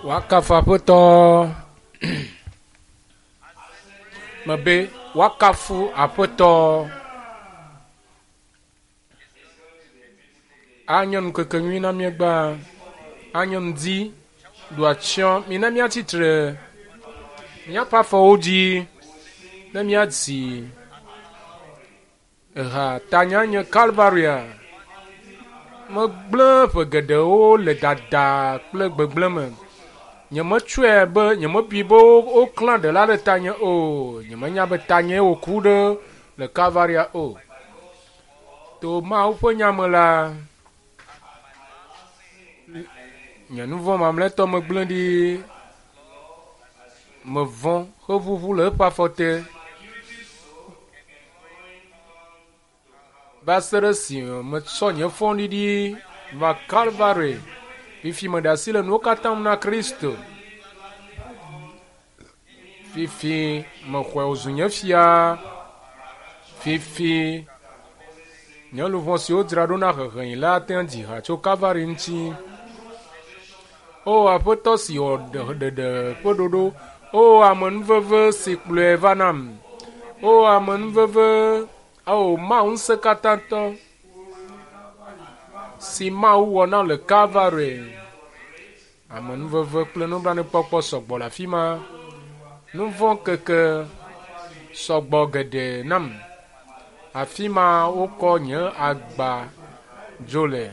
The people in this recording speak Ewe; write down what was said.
Woakafu Aƒetɔ. Mebe woakafu Aƒetɔ. Anye ŋkeke nyui na míegbea. Anye ŋdi ɖo atsyɔ̃. Mina míatsitre míaƒe afɔwo dzi ne míadzi eha tanya nye Kalvaria. Megblẽ ƒe geɖewo le dada kple gbegblẽ me. Nyemetsɔe be nyemebui be woklã ɖela ɖe tanye o. Nyemenya be tanyee wòku ɖe le Kalvaria o. To Mawu ƒe nya me la, nye nu vɔ̃ mamlɛtɔ megblẽ ɖi. Mevɔ̃ heʋuʋu le eƒe afɔ te. Va se ɖe esime metsɔ nye fɔɖiɖi va Kalvari. Fifi meɖe asi le nuwo katã ŋu na Kristo. Fifi mexɔe wòzu nye fia. Fifi nye luʋɔ si wodzra ɖo na heheyi la ate ŋu dzi ha tso Kalvari ŋuti. O Aƒetɔ si wɔ ɖeɖe ƒe ɖoɖo, O amenuveve si kplɔe va nam, O amenuveve, O Mawu ŋusẽkatãtɔ si Mawu wɔ na le Kalvari. Amenuveve kple nublanuikpɔkpɔ sɔgbɔ le afi ma. Nu vɔ̃ keke sɔgbɔ geɖe nam. Afi ma wokɔ nye agba dzo le.